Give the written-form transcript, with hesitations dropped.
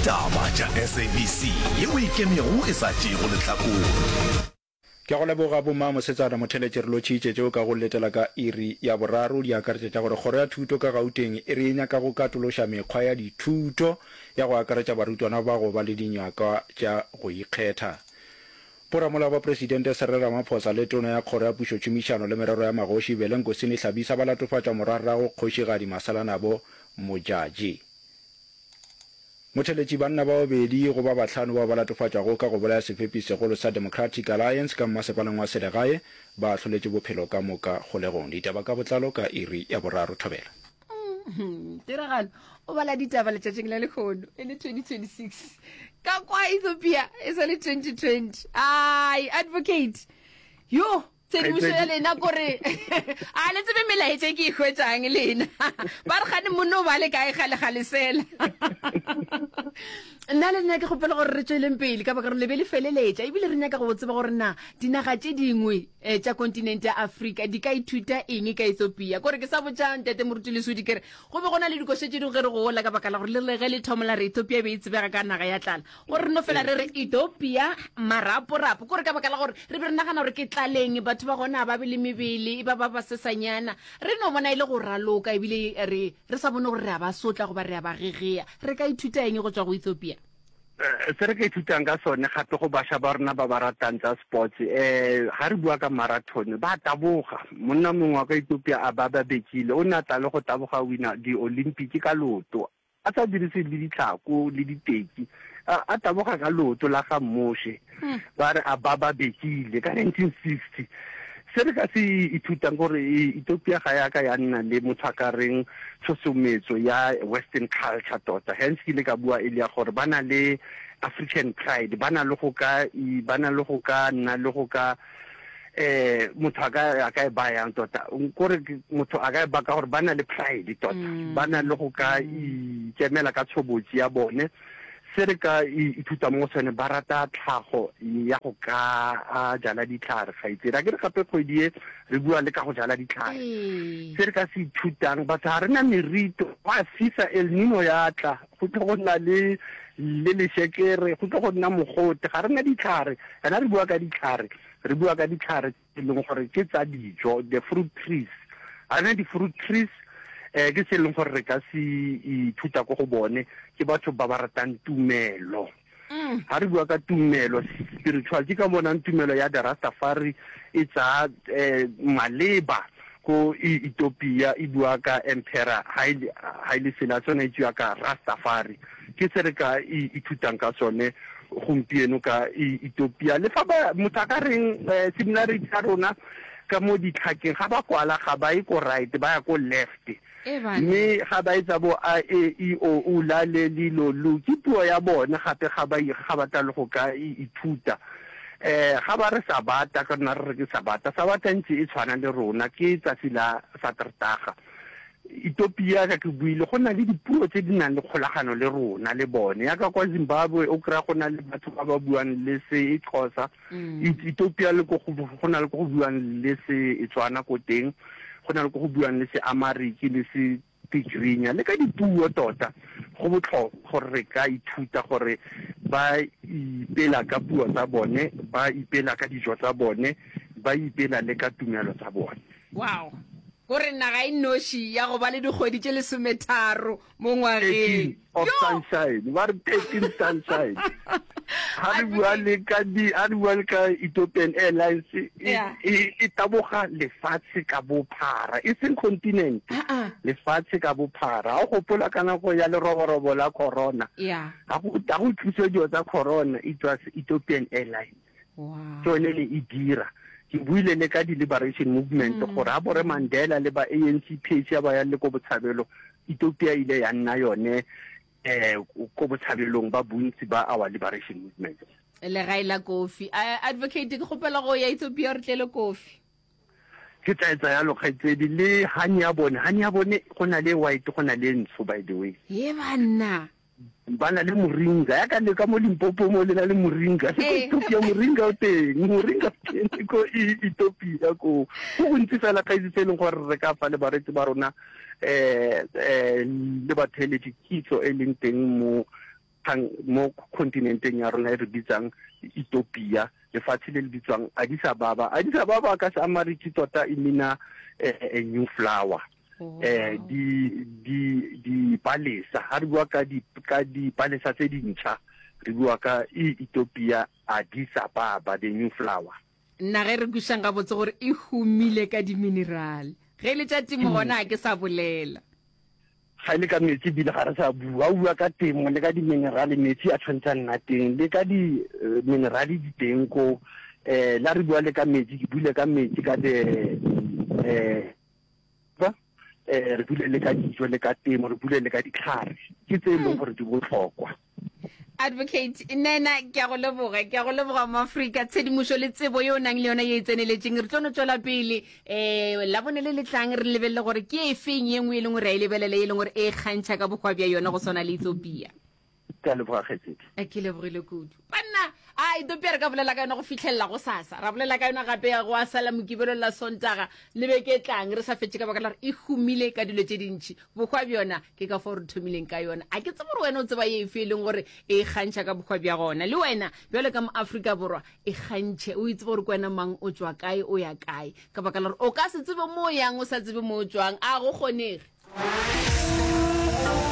Ditaba tša SABC yeo e ikemego e sa tšeego lehlakore. Ke a go leboga bomma mosetsana Motheletše re lotšhitše tšeo ka go letela ka iri ya boraro di akaretša tša gore Kgoro ya Thuto ka Gauteng e re e nyaka go katološa mekgwa ya dithuto ya go akaretša barutwana ba go ba le dinyakwa tša go ikgetha. Boramolao ba Presidente Cyril Ramaphosa le Tona ya Kgoro ya Pušotšhomišano le Merero ya Magoši Velenkosini Hlabisa ba latofatša morwarrago Kgošigadi Masalanabo Modjadji. Motheletši banna ba babedi go ba bahlano bao ba latofatšwago ka go bolaya sefepi segolo sa Democratic Alliance ka mmasepaleng wa selegae ba ahloletšwe bophelo ka moka kgolegong. Ditaba ka botlalo ka iri ya boraro. Thobela. Tiragalo o bala ditaba letšatšing la lehono e le 2026 ka kwa Ethiopia e sa le 2020. Ai advocate yo tshedimošo ya lena kore a le tsebe melaetša e ke e hwetšang lena ba re gane monno o ba le kae gale gale sela nna le nna ke kgopela gore re tšweleng pele ka baka gore le be le feleletša ebile re nyaka go tseba gore na dinaga tše dingwe um tša kontinente ya Afrika di ka ithuta eng ka Ethiopia. Kore ke sa botša Ntate Moruti Lesodi ke re go be go na le dikoša tše dingwe ge re gola ka baka la gore le re ge le thoma la re Ethiopia e be e tsebega ka naga ya tlala. Gore re no fela re re Ethiopia maraporapo. Kore ka baka la gore re be re nagana gore ke tlaleng batho ba gona ba be le mebele e ba ba basesanyana. Re no bona e le go raloka ebile re re sa bone gore re a ba sotla goba re a ba gegea. Re ka ithuta eng go tšwa go Ethiopia? Eh, se re ka ithutang ka sone gape go bašwa ba rona ba ba ratang tsa sports um ga re bua ka marathon ba taboga monna mongwe wa ka Ethiopia a ba ba bekile o ne a tla le go taboga wina di-olympic ka leoto a sa dirise le ditlhako le diteki a taboga ka leoto la ga Moshe hmm. ba re a ba ba bekile ka 1960 se re ka se ithutang gore Ethiopia ga ya ka ya nna le motho a ka reng tshosometso ya western culture tota hence ke ile ka bua e le ya gore ba na le african pride ba na le go ka ba na le go ka nna le go ka eh motho a ka a ka e bayang tota kore motho a ka e baka gore ba na le pride tota mm. ba na le go ka mm. ikemela ka tshobotsi ya bone Se re ka ithuta mo go sone, ba rata tlhago ya go ka jala ditlhare, kgaitsedi. A ke re gape kgwedi e re bua le ka go jala ditlhare. Se re ka se ithutang, batho ga re na merito, go a fisa, El Nino ya tla, go tlo go nna le le lešekere, go tlo go nna mogote, ga re na ditlhare. Ena re bua ka ditlhare, re bua ka ditlhare e leng gore ke tsa dijo, the fruit trees. Ga re na di-fruit trees, um ke se e leng gore re ka se ithuta ko go bone, ke batho ba ba ratang tumelo. Ga mm. re bua ka tumelo, spiritual, ke ka bonang tumelo ya the Rastafari e tsaya um maleba ko Ethiopia e bua ka Emperor Haile Haile Selassie o ne a itsiwa ka Rastafari. Ke se re ka ithutang ka sone gompieno ka Ethiopia. Le fa ba motho a ka reng eh, similarity ya rona ka mo ditlhakeng ga ba kwala ga ba ye ko right ba ya ko left mme ga ba etsa bo a e i o u la le li lo lu ke puo ya bone gape ga ba ga ba tla le go ka ithuta eh ga ba re sabata ka rona re re ke sabata sabata ntse e tshwana le rona ke tsatsi la satertaga Ethiopia ka ke buile go na le dipuo tse di nang le kgolagano le rona le bone yaka kwa Zimbabwe o kry-a go na le batho ba ba buang le se Xhosa mm. Ethiopia le ko go na le ko go buang le se Tswana ko teng go na le ko go buang le se Amariki le se Tigrinya le ka dipuo tota go botlhokwa gore re ka ithuta gore ba ipela ka puo tsa bone ba ipela ka dijo tsa bone ba ipela le ka tumelo tsa bone wow Gore naga e nnoši ya go ba le dikgwedi tše lesometharo mo ngwageng. 13 of sunshine ba re 13 sunshine ha re bua le ka di ha re bua le ka Ethiopian Airlines e, e, e taboga lefatshe ka bophara e seng continent lefatshe ka bophara ha o gopola ka nako ya leroborobo la corona ha go ha go tliswe dilo tsa corona it was Ethiopian Airlines Ke yone ne e dira. Ke buile le ka di-liberation movement mm. gore a bore Mandela le ba ANC PAC ba yang le ko botshabelo, Ethiopia ile ya nna yone eh ko botshabelong ba bontsi ba our liberation movement. Legae la kofi. Advocate ke kgopela go ya Ethiopia re tlele kofi. Ke tla etsa yalo kgaitsedi le honey ya bone. Honey ya bone go na le white go na le ntsho by the way. Ye banna. Ba na le moringa ya ka le ka mo Limpopo mo le na le moringa le ko eh. Ethiopia moringa o teng moringa o teng le ko Ethiopia ko go gontsi fela kgaitsi tse e leng gore re ka fa le bareetsi ba rona eh eh le batheeletši kitso e leng teng mo Kgang mo kontinenteng ya rona e re bitsang Ethiopia, lefatshe le le bitswang Addis Ababa. Addis Ababa ka Seamariki tota e meana a new flower. Eh, di, di, dipalesa, ha re bua ka di, ka dipalesa tse dintšha, re bua ka Ethiopia, Addis Ababa, the new flower. Nna ge re kwešang gabotse gore e humile ka diminerale. Ge e le tša temo gona ga ke sa bolela. Ga e le ka metsi ebile ga re sa bua. O bua ka temo le ka diminerale, metsi a tshwanetse a nna teng. Le ka diminerale di teng ko. Um la re bua le ka metsi, ke buile ka metsi ka the um re buile le ka dijo le ka temo, re buile le ka ditlhare. Ke tse e leng gore di botlhokwa. Advocate Nena, ke a go leboga, ke a go leboga Moafrika, tshedimošo le tsebo ye o nang le yona ye e tseneletšeng. Re tlo no tšwela pele um Labone le le tlang re lebelele gore ke efeng ye nngwe e leng gore a e lebelele ye e leng gore e kgantšha ka bohwa bja yona go swana le Ethiopia. Ke a leboga kgaetšedi. Eh, ke lebogile kudu. Banna, a Ethiopia re ka bolela ka yona go fihlelela go sasa. Ra bolela ka yona gape go a sala Mokibelo la Sontaga le beke e tlang re sa fetše ka baka la gore e humile ka dilo tše dintši. Bohwa bjona ke ka fao re thomileng ka yona. A ke tsebe gore wena o tseba ye efe e leng gore e ikgantšha ka bohwa bja gona. Le wena bjalo ka Moafrika Borwa e kgantšhe, o itsebe gore ke wena mang, o tšwa kae, o ya kae. Ka baka la gore o ka se tsebe mo o yang o sa tsebe mo o tšwang. A go kgonege.